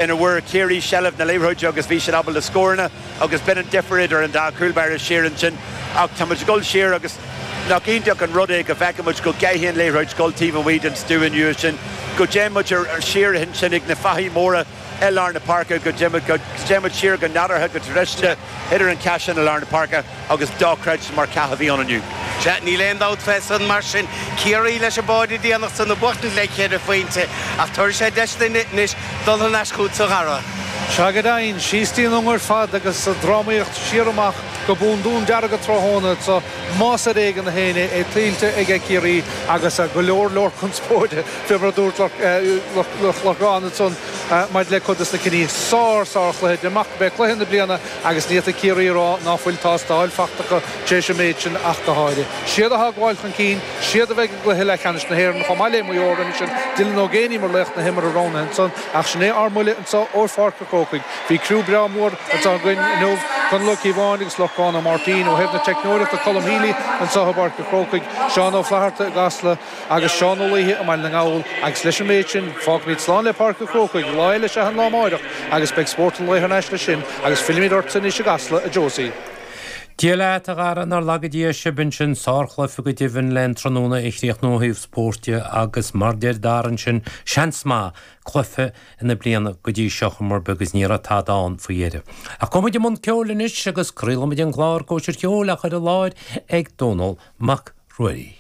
Ina bhfuair Ciarraí seilbh na liathróide agus bhí siad ábalta scóranna agus b'in an difear idir an dá chúl báire siar ansin. Ach tá muid ag dul siar agus nach iontach an rud é go bhfeiceann muid go gcaithfidh an liathróid dul taobh amuigh den stua inniu sin, go dtéann muid siar ansin ag na fathaigh mhóra i lár na páirce, go dtéann muid siar go nádúrtha, go traidisiúnta idir an cath sin i lár na páirce agus dochreidte mar chath a bhí ann inniu. Sea, níl aon dabht fé san. Mar sin, Ciarraí leis an bpáire déanach san ag buachtaint le ceithre phointe, ach tabharfaidh sé deis duinn anois dul thar n-ais chugatsa, a Dhara. Sea, go deimhin, síos dtí an Ionga ar fad agus drámaíocht siar amach go Bun Dún Dearg tráthnóna anso, más ar éigean a fhéin é, é tuillte aige Ciarraí agus go leor leor conspóide fé mar a dúirt Lorcán ansan maidir le cuid des na cinní. Sár, sár chluiche, amach gurb é cluiche na bliana agus ní fhéadfaidh Ciarraí a rá ná fuil tástáil fachta acu tar éis an méid sin ach go háirithe. Siad atá ag gabháil chun cinn, siad a bheidh i gcluiche leathcheannais na hÉireann chomh maith le Maigh Eo roimhe sin, Dylan Ó Géibheannaigh mar laoch na himeartha roghnaithe ansan ach sin é ár mbuille anso ó Pháirc an Chrócaigh. Bhí criú breá mór anso againn inniu, Conall Ó Cíobháin agus Lorcán Ó Máirtín ó thaobh na teicneoireachta, Colm Healy anso i bPáirc an Chrócaigh, Seán Ó Flatharta i gCasla, Agus Seán Ó Laoithe i mBaile na nGall agus leis an méid sin fágfaimid slán le Páirc an Chrócaigh, lá eile is ea an lá amáireach agus beidh Spórt an Lae thar n-ais leis sin agus fillimid ortsa anois i gCasla, a Josie. Dia leat, a Dhara, nár laga Dia sibh ansin, sárchluiche go deimhin le an tráthnóna a chríochnú ó thaobh spóirt de agus mar deir Dara ansin, seans maith, cluiche na bliana go dtí seo chuma ar bith agus ní raibh tada ann faoi dheireadh. Ach gabhfaidh muid i mbun ceoil anois agus craolfaidh muid an clár Cóisir Cheoil á chur i láthair ag Dónall Mac Ruairí.